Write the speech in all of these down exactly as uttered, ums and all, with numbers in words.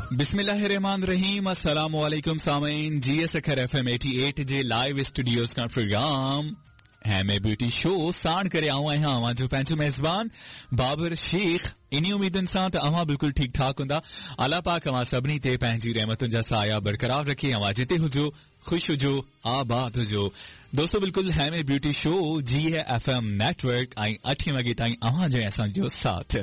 बिस्मिल्लाहिर्रहमानिर्रहीम। अस्सलाम वालेकुम सामीन। जी सखर एफ एम अठासी जे लाइव स्टूडियोज का प्रोग्राम हेमे ब्यूटी शो साण करे आऊं आहियां अव्हां जो पंहिंजो मेज़बान बाबर शेख। इन्ही उम्मीदुनि सां त अव्हां बिल्कुलु ठीक ठाक हूंदा। अलाह पाक अव्हां सभिनी ते पंहिंजी रहमतुनि जा साया बरक़रार रखे। अव्हां जिते हुजो ख़ुशि हुजो आबाद हुजो। दोस्तो बिल्कुलु हेमे ब्यूटी शो जी एफ एम नेटवर्क ऐं अठे वॻे ताईं अव्हां जो ऐं असांजो साथ।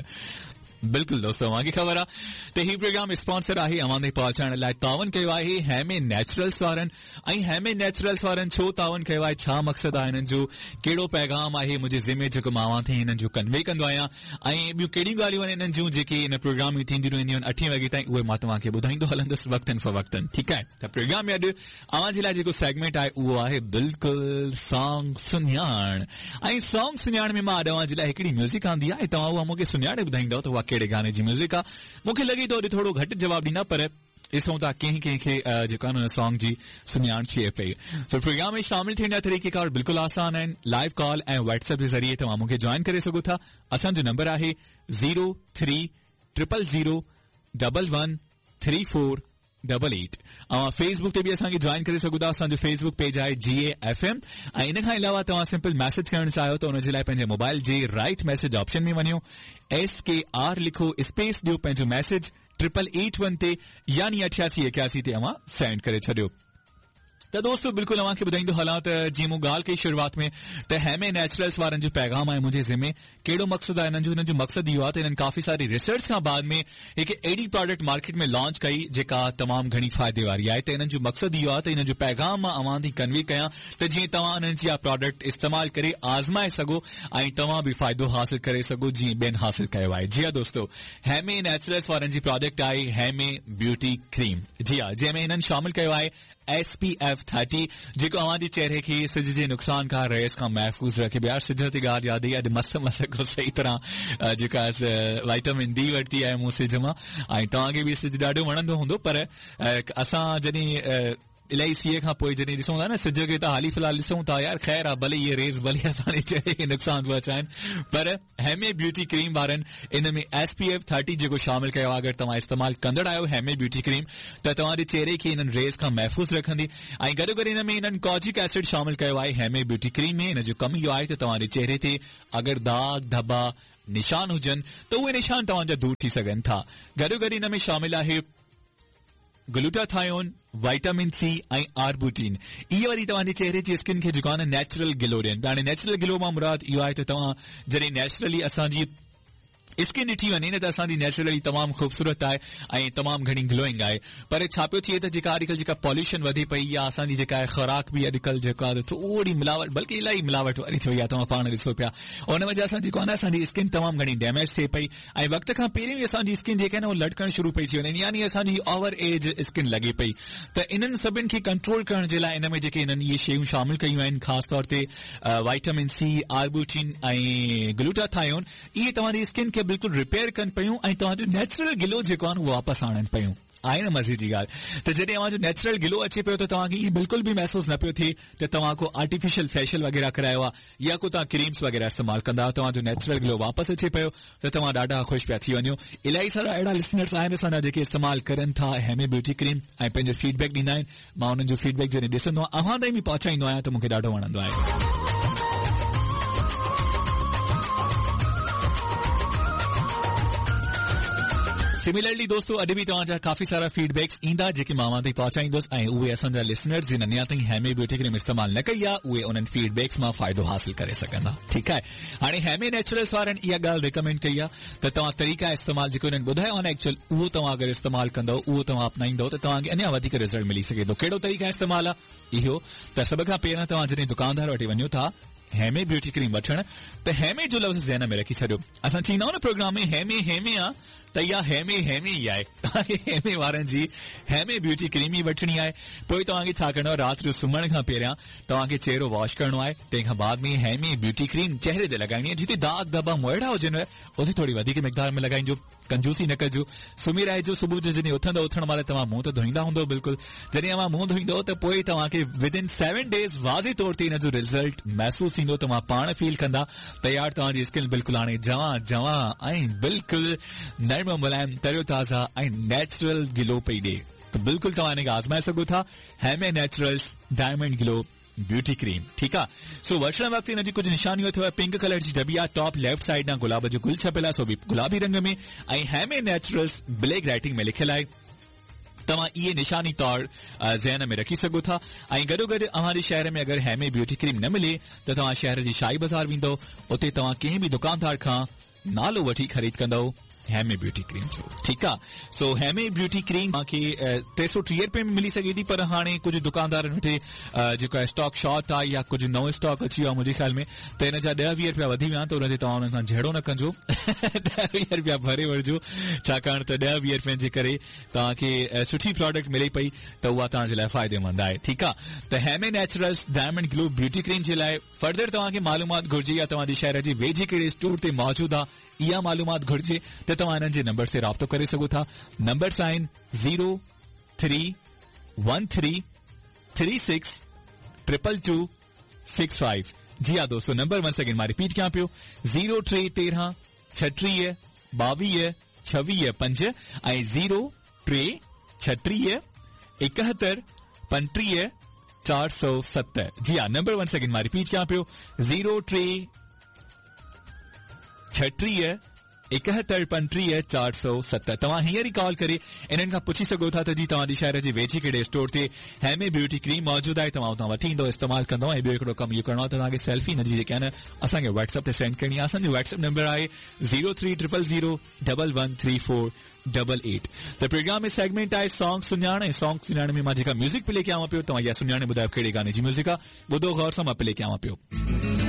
बिल्कुल दोस्तों अव्हांखे ख़बर आहे त ही प्रोग्राम स्पॉन्सर आहे अव्हां ताईं पहुचाइण लाइ तावन कयो आहे हेमे नेचुरल्स वारनि। ऐं हेमे नेचुरल्स वारनि छो तावन कयो आहे, छा मक़सदु आहे हिननि जो, कहिड़ो पैगाम आहे मुंहिंजे ज़िमे जेको मां अव्हां ताईं हिननि जो कन्वे कंदो आहियां ऐं ॿियूं कहिड़ियूं ॻाल्हियूं आहिनि हिननि जूं जेके हिन प्रोग्राम में थींदियूं रहंदियूं आहिनि अठे वॻे ताईं, उहे मां तव्हांखे ॿुधाईंदो हलंदुसि वक़्तनि फ़वक़्तनि। ठीकु आहे, त प्रोग्राम में अॼु अव्हां जे लाइ जेको सेगमेंट आहे उहो आहे बिल्कुलु सॉन्ग सुञाण। ऐं सॉन्ग सुञाण में मां अॼु अव्हां जे लाइ हिकिड़ी म्यूज़िक आंदी आहे, तव्हां उहा मूंखे सुञाणे ॿुधाईंदव त उहा कहिड़े गाने जी म्यूज़िक आहे। मूंखे लॻे थो अॼु थोरो घटि जवाबु ॾींदा, पर ॾिसूं था कंहिं कंहिंखे जेको आहे न सॉन्ग जी सुञाण थिए पई। सो प्रोग्राम में शामिल थियण जा तरीक़ेकार बिल्कुलु आसान आहिनि। लाइव कॉल ऐं व्हाट्सएप जे ज़रिए तव्हां मूंखे जॉइन करे सघो था। असांजो नंबर आहे zero three triple zero double one three four double eight. अव्हां फेसबुक ते बि असांखे जॉइन करे सघो था। असांजो फेसबुक पेज आहे जी ए एफ एम। ऐं इन खां अलावा तव्हां सिंपल मैसेज करणु चाहियो त उनजे लाइ पंहिंजे मोबाइल जे राइट मैसेज ऑप्शन में वञो, एस के are लिखो, स्पेस ॾियो, पंहिंजो मैसेज ट्रिपल एट वन ते यानी अठासी एकासी ते अव्हां सेंड करे छॾियो। त दोस्तो बिल्कुलु अव्हांखे ॿुधाईंदो हलां त जीअं मूं ॻाल्हि कई शुरूआत में त हेमे नेचुरल्स वारनि जो पैगाम आहे मुंहिंजे ज़िमे। कहिड़ो मक़सदु आहे हिननि जो? हिननि जो मक़सदु इहो आहे त हिननि काफ़ी सारी रिसर्च खां बाद में हिकु अहिड़ी प्रोडक्ट मार्केट में लॉन्च कई जेका तमामु घणी फ़ाइदे वारी आहे। त हिननि जो मक़सदु इहो आहे त हिननि जो पैगाम मां अव्हां ताईं कन्वे कयां त जीअं तव्हां उन्हनि जी इहा प्रोडक्ट इस्तेमालु करे आज़माए सघो ऐं तव्हां बि फ़ाइदो हासिल करे सघो जीअं ॿियनि हासिल कयो आहे। जी हा दोस्तो, हेमे नेचुरल्स वारनि जी प्रोडक्ट आहे हेमे ब्यूटी क्रीम। जी हा, जंहिंमें हिननि शामिल कयो आहे एस पी एफ थर्टी जेको अव्हांजे चेहरे खे सिज जे नुक़सान खां रेस खां महफ़ूज़ रखे। यार सिज ते ॻाल्हि यादि आई, अॼु मस मस को सही तरह जेका वाइटामिन डी वरिती आहे मूं सिज मां। ऐं तव्हांखे बि सिज ॾाढो वणंदो हूंदो, पर असां जॾहिं इलाही सीअ खां पोइ जॾहिं ॾिसूं था न सिज खे त हाली फ़िलहाल ॾिसूं था यार ख़ैर आहे, भले इहे रेस भले असांजे चेहरे खे नुक़सान पहुचाइनि, पर हेमे ब्यूटी क्रीम वारनि इन में एस पी एफ थर्टी जेको शामिल कयो आहे। अगरि तव्हां इस्तेमालु कंदड़ आहियो हेमे ब्यूटी क्रीम त तव्हांजे चेहरे खे इन्हनि रेस खां महफ़ूज़ रखंदी। ऐं गॾोगॾु इन में इन्हनि कॉजिक एसिड शामिल कयो आहे हेमे ब्यूटी क्रीम में। इन जो कमु इहो आहे त तव्हांजे चेहरे ते अगरि दाग धब्बा निशान हुजनि त उहे निशान तव्हांजा दूर थी सघनि था। गॾोगॾु इन में शामिल आहे ग्लूटाथायोन, वाइटामिन सी ऐं आर्बुटीन। इहे वरी तव्हांजे चेहरे जी स्किन खे जेको आहे न नेचुरल ग्लो ॾियनि। हाणे नेचुरल ग्लो मां मुराद इहो आहे त तव्हां जॾहिं नेचुरली असांजी स्किन ॾिठी वञे न त असांजी नेचुरली तमामु ख़ूबसूरत आहे ऐं तमामु घणी ग्लोइंग आहे। पर छा पियो थिए त जेका अॼुकल्ह जेका पॉल्यूशन वधे पई या असांजी जेका आहे ख़ुराक बि अॼुकल्ह जेको आहे थोरी मिलावट, बल्कि इलाही मिलावट वारी थी वई आहे, तव्हां पाण ॾिसो पिया। उन वजह सां जेको आहे न असांजी स्किन तमामु घणी डैमेज थिए पई ऐं वक़्त खां पहिरियों ई असांजी स्किन जेका आहे न उहा लटकणु शुरू पई थी वञे, यानी असांजी ओवर एज स्किन लॻे पई। त इन्हनि सभिनि खे कंट्रोल करण जे लाइ इन में जेके हिननि इहे शयूं शामिल कयूं आहिनि, ख़ासि तौर ते वाइटामिन सी, आर्बुटीन ऐं ग्लूटाथायोन, इहे तव्हांजी स्किन खे बिल्कुलु रिपेयर कनि पयूं ऐं तव्हांजो नेचुरल ग्लो जेको आहे उहो वापसि आणनि पयूं। आहे न मज़े जी ॻाल्हि। त जॾहिं तव्हांजो नेचुरल ग्लो अचे पियो त तव्हांखे ईअं बिल्कुलु बि महसूसु न पियो थिए त तव्हां को आर्टिफिशियल फेशियल वग़ैरह करायो आहे या को तव्हां क्रीम्स वग़ैरह इस्तेमालु कंदा आहियो। तव्हांजो नेचुरल ग्लो वापसि अचे पियो त तव्हां ॾाढा ख़ुशि पिया थी वञो। इलाही सारा अहिड़ा लिसनर्स आहिनि असांजा जेके इस्तेमालु करनि था हेमे ब्यूटी क्रीम ऐं पंहिंजो फीडबैक ॾींदा आहिनि। मां उन्हनि जो फीडबैक जॾहिं ॾिसंदो आहियां अव्हां ताईं बि पहुचाईंदो आहियां त मूंखे ॾाढो वणंदो आहे। सिमिलरली दोस्तों अॼु बि तव्हांजा काफ़ी सारा फीडबैक्स ईंदा जेके मां अव्हां ताईं पहुचाईंदुसि ऐं उहे असांजा लिसनर्स जिन अञा ताईं हेमे ब्यूटी क्रीम इस्तेमालु न कई आहे उहे उन्हनि फीडबैक्स मां फ़ाइदो हासिल करे सघंदा। ठीकु आहे, हाणे हेमे नेचुरल्स वारनि इहा ॻाल्हि रिकमेंड कई आहे त तव्हां तरीक़ा इस्तेमालु जेको हिननि ॿुधायो आहे न एक्चुअल उहो तव्हां अगरि इस्तेमालु कंदव, उहो तव्हां अपनाईंदव त तव्हांखे अञा वधीक रिज़ल्ट मिली सघे थो। कहिड़ो तरीक़ा इस्तेमालु आहे इहो त सभ खां पहिरियां तव्हां जॾहिं दुकानदार वटि वञो था हेमे ब्यूटी क्रीम वठण त हेमे जो लफ़्ज़ ज़हन में रखी छॾियो। असां चईंदा आहियूं न प्रोग्राम में हेमे हेमे आहे त इहा हेमे हेमे ई आहे। तव्हांखे हेमे वारनि जी हेमे ब्यूटी क्रीम ई वठणी आहे। पोइ तव्हांखे छा करिणो आहे, राति जो सुम्हण खां पहिरियां तव्हांखे चेहरो वॉश करिणो आहे, तंहिंखां बाद में हेमे ब्यूटी क्रीम चेहरे ते लॻाइणी आहे। जिते दाग धब्बा मोइड़ा हुजनि उते थोरी वधीक मिक़दार में लॻाइजो, कंजूसी न कजो। सुम्ही रहिजो, सुबुह जो जॾहिं उथंदव उथण महिल तव्हां मुंहुं त धोईंदा हूंदव बिल्कुलु, जॾहिं तव्हां मुंहुं धोईंदव त पोइ तव्हांखे विद इन सेवन डेज़ वाज़े तौर ते हिन जो रिज़ल्ट महसूसु थींदो। तव्हां पाण फील कंदा त यार तव्हांजी स्किन बिल्कुलु हाणे जवां जवां ऐं बिल्कुलु नरम में मुलायम, तरो ताज़ा ऐं नेचुरल ग्लो पई ॾिए। त बिल्कुलु तव्हां हिन खे आज़माए सघो था, Heme naturals diamond glow beauty cream. ठीकु आहे। सो वठण वक़्तु हिन जी कुझु निशानियूं अथव। पिंक कलर जी डबी आहे, टॉप लेफ्ट साइड ॾांहुं गुलाब जो गुल छपियल आहे, सो बि गुलाबी रंग में, ऐं हेमे नेचुरल्स ब्लैक राइटिंग में लिखियलु आहे। तव्हां इहे निशानी तौर ज़हन में रखी सघो था। ऐं गॾोगॾु अव्हां जे शहर में अगरि हेमे ब्यूटी क्रीम न मिले त तव्हां शहर जी शाही बाज़ार वेंदव, उते तव्हां कंहिं बि दुकानदार खां नालो वठी ख़रीद कंदव हेमे ब्यूटी क्रीम जो। ठीकु आहे। सो हेमे ब्यूटी क्रीम तव्हांखे टे सौ टीह रुपए में मिली सघे थी, पर हाणे कुझु दुकानदारनि वटि जेको आहे स्टॉक शॉर्ट आहे या कुझु नओं स्टॉक अची वियो आहे मुंहिंजे ख़्याल में, त हिन जा ॾह वीह रुपया वधी विया आहिनि, त उन ते तव्हां हुननि सां झेड़ो न कंजो, ॾह वीह रुपया भरे वठिजो, छाकाणि त ॾह वीह रुपयनि जे करे तव्हांखे सुठी प्रोडक्ट मिले पई त उहा तव्हांजे लाइ फ़ाइदेमंद आहे। ठीकु आहे। त Heme naturals diamond glow beauty cream जे लाइ फर्दर तव्हांखे मालूमात घुर्जे या तव्हांजे शहर जे वेझे कहिड़े स्टोर ते मौजूदु आहे इहा मालूमात घुर्जे त तव्हां हिननि जे नंबर ते राब्तो करे सघो था। नंबर्स आहिनि zero three one three three six triple two six five. जी हा दोस्तो, नंबर वन सेकेंड मां रिपीट कयां पियो, ज़ीरो टे तेरहं छटीह ॿावीह छवीह पंज ऐं ज़ीरो टे छटीह एकहतरि पंटीह चारि सौ सत। जी हा, नंबर वन सेकेंड मां रिपीट कयां पियो, ज़ीरो टे छटीह एकहतरि पंटीह चारि सौ सत। तव्हां हींअर ई कॉल करे इन्हनि खां पुछी सघो था त जी तव्हांजे शहर जे वेझे कहिड़े स्टोर ते हेमे ब्यूटी क्रीम मौजूदु आहे, तव्हां उतां वठी ईंदो, इस्तेमालु कंदो। ऐं ॿियो हिकिड़ो कमु इहो करिणो आहे त तव्हांखे सेल्फी हिन जी जेका आहे न असांखे व्हाट्सएप ते सेंड करणी आहे। असांजो व्हाट्सएप नंबर आहे zero three triple zero double one three four double eight. त प्रोग्राम में सेगमेंट आहे सॉन्ग सुञाण, ऐं सॉन्ग सुञाण में मां जेका म्यूज़िक प्ले कयां पियो, तव्हां इहा सुञाणे ॿुधायो कहिड़े गाने जी म्यूज़िक आहे। ॿुधो ग़ौर सां, मां प्ले कयां पियो।